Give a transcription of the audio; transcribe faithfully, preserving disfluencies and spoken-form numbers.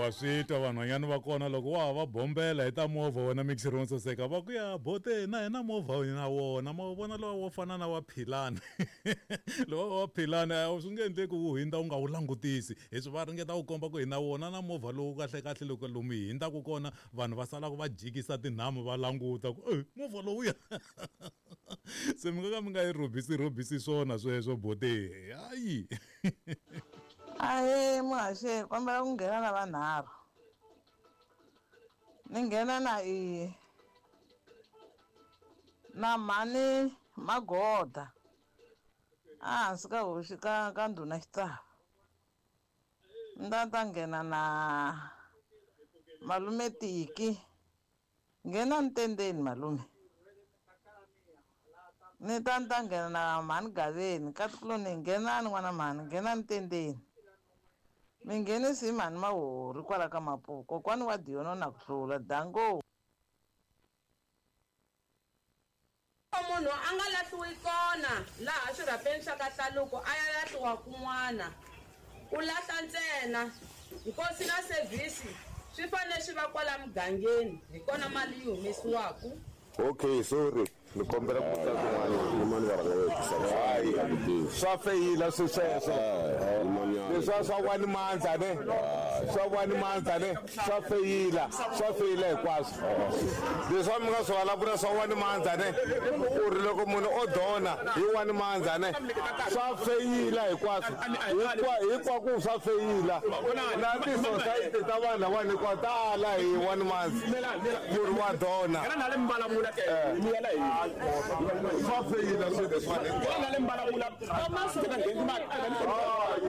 Wa swi twa vanhwanyana va kona loko wa ha va bombela hi ta movha wena mixer wo saseka va ku ya bote na hina movha na wona ma wu vona lowa wo fana na wa Philani lowa wa Philani a swi nge endleki wu hundza u nga wu langutisi leswi va ringeta ku komba ku hi na wona na movha lowu kahle kahle loko lomu hi hundzaka kona vanhu va salaka va jikisa tinhamu va languta ku e movha lowuya se mi nga ka mi nga yi rhobisi rhobisi swona sweswo bote hayi. Ahee muhaxi kombela ku nghena na vanharhu ni nghena na i na mhani Magoda ehansi ka hosi ka ka ndhuna Xitsava ni ta ta nghena na malume Tiki nghena ntendeni malume ni ta ni ta nghena na mhani Gaveni nkatikuloni nghenani n'wana mhani nghenani ntendeni mi nghenisi hi mhani Mahori kwala ka Mapuku kokwani wa Diono na ku hlula dango. Munhu a nga lahliwi kona laha xirhapeni xa ka Hlaluko a ya lahliwa kun'wana ku lahla ntsena nkosi na sevhisi swi fanele swi va kwala mugangeni hi kona mali yi humesiwaka. Okay, sorry. Ni kombela ku ta kun'wana. Swa feyila swi sweswo. Leswi swa one month ne. Swa one month ne. Swa feyila, swa feyila hinkwaswo. Leswi mi nga swi vulavula swa one month ne. Ku ri loko munhu o dona hi one month ne. Swa feyila hinkwaswo. Hinkwako swa feyila. Na ti-society ta vanhu lava hinkwato tala hi one month. Ku ri wa dona. Swa feyila swilo leswiwani hinkwaswo.